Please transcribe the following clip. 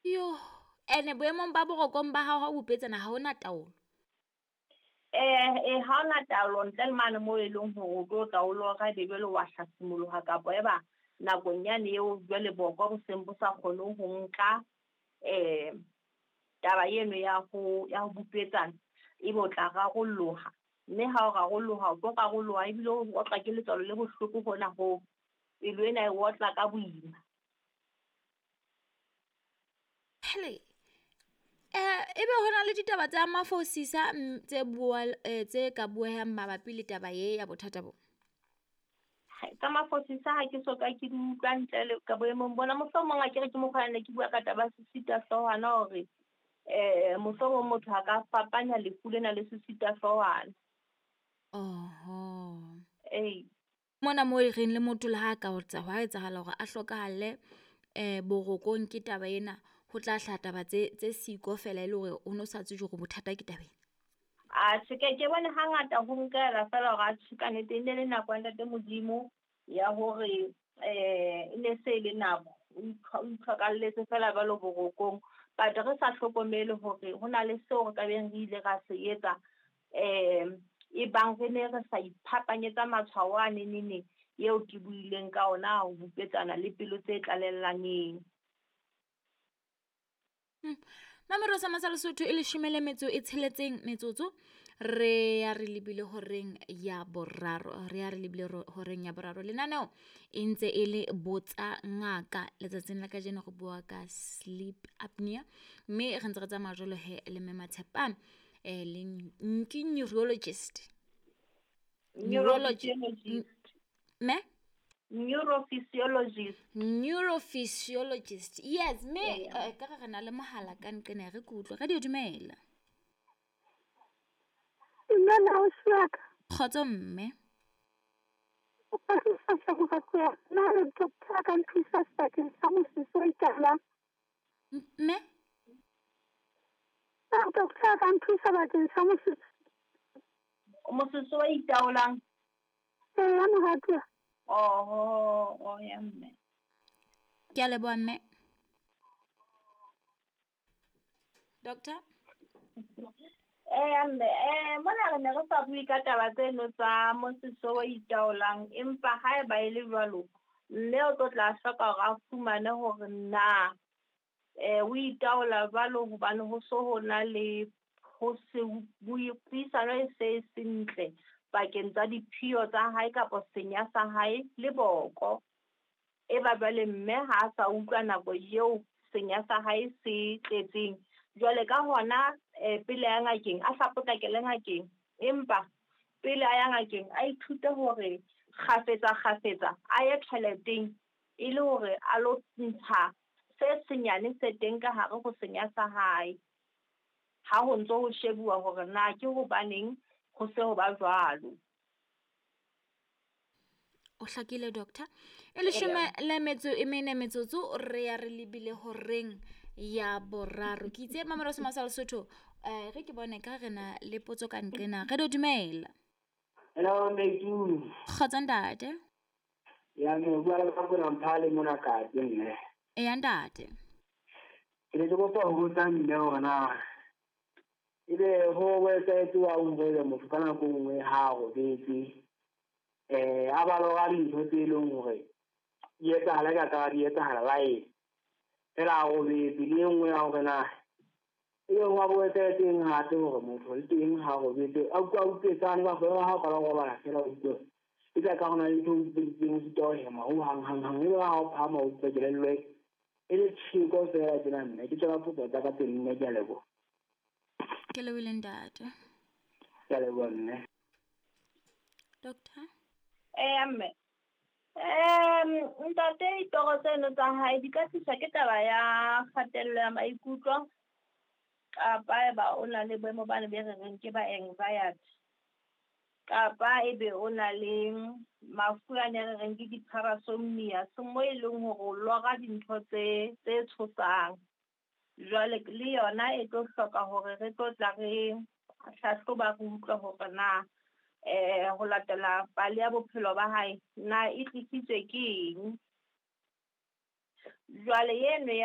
Yo, ene boemong ba borokong ba hao ha o bupetsana ha hona taolo. Ha hona taolo ntle le mane moo e leng hore o tlo tla o lora ebe jwale wa hlasimoloha kapa eba nakong yane eo jwale boko bo seng bo sa kgone ho nka taba eno ya ho bupetsana, ebe o tla rarolloha. Mme ha o rarolloha, o tlo rarolloha ebile o otlwa ke letswalo le bohloko hona hoo. Pelo ena e otla ka boima. Hele, ebe hona le ditaba tsa mafosisa tse bua tse ka buehang mabapi le taba ye ya bothata bo? Tsa mafosisa ha ke soka ke di utlwa ntle le ka boemong bona. Mohlomong akere ke mokgwa ne ke bua ka taba ya sesita hloohwana hore mohlomong motho a ka fapanya lefu lena le sesita hloohwana. Oho. Ee. Mona mo e reng le motho le ha ka otsa hwa etsahala hore a hlokahale borokong ke taba ena, ho tla hlaha taba tse siko fela e le hore o no sa tsebe hore bothata ke tabeng. Atjhe, ke ke bone hangata ho nkela fela hore atjhe ka nnete e ne le nako ya ntate Modimo ya hore e ne se le nako o itlhokalletse fela jwalo borokong. But re sa hlokomele hore ho na le seo re ka beng re ile ra se etsa e bang re ne re sa iphapanyetsa matshwao a neneneng eo ke buileng ka ona ho bupetsana le pelo tse tlalellaneng. Mamelo sa Masala Sotho e 16 metsotso re ya re lebile horeng ya boraro, re ya re lebile horeng ya boraro. Lenaneo e ntse e le botsa ngaka letsatsing la kajeno re bua ka sleep apnea, mme re ntse re tsamaya jwalo he le Mme Matshepang le ke neurologist. Neurophysiologist. Me? Neurophysiologist. Neurophysiologist. Yes, me ka re na le mohala ka nqena re kutlwe. Radio dumela. Dumela o siaka. Kgotso mme. O ka thusa moratuwa. Na le doctor ka nthusa sebakeng sa mosese o itaolang? Mme? Na doctor ka nthusa bakeng sa mosese? Mosese o itaolang? Ee, moratuwa. Oho, oh ya mme. Ke a leboha mme. Doctor? Mme, mona re ne re sa bue ka taba tseno tsa mosese o itaolang, empa haeba e le jwalo, mme o tlo tla hloka hore a fumane hore na o itaola jwalo hobane ho so ho na le ho se puisano e se sentle pakeng tsa diphio tsa hae kapa senya sa hae le boko. E ba jwale mme ha a sa utlwa nako eo senya sa hae se tletseng. Jwale ka hona pele ya ngakeng, a sa potlakele ngakeng, empa pele a ya ngakeng a ithute hore kgafetsa kgafetsa a ye toileteng e le hore a lo ntsha se senyane se teng ka hare ho senya sa hae. Ha ho ntso ho shebuwa hore na ke hobaneng ho se ho ba jwalo. O hlakile doctor. E 14 metsotso re ya re lebile horeng ya boraro. Ke itse Mamelo sa Masala Sotho, re ke bone ka re na le potso ka nqena. Re do dumela. Hello Meitu. Kgotso ntate. Ya me bua le ka bona mphale mona ka mme. E ntate. Ke le kopa ho botsa mme hore na ebe ho etsaetse wa hore motho ka nako nngwe ha robetse a ba lora dintho tse leng hore di etsahala ka ka di etsahala live fela a robetse. Le e nngwe ya hore na ebe ho a bo etsaetseng hape hore motho le teng ha robetse a utlwa utlwetsane ba fela ha o qala ho robala fela o utlwe e tla ka hona le ntho e utlweditseng o sitwa ho hema ho hang hang hang ebe ha o phahama o utlwa kelello e le tjheko fela tjena mme. Ke tsona potso tsa ka tse nne, ke a leboha. Ke lebohile ntate. Ke a leboha mme. Doctor? Mme. Ntate ditoro tseno tsa hae di ka tliswa ke taba ya kgatello ya maikutlo kapa eba o na le boemo bane be re reng ke ba anxiety, kapa ebe o na le mafu a ne re reng ke di-parasomnia, se mo e leng hore o lora dintho tse tshosang. Jwale le yona e tlo hloka hore re tlo tla re hlahloba re utlwe hore na ho latela pale ya bophelo ba hae na e tlisitswe ke eng. Jwale eno ya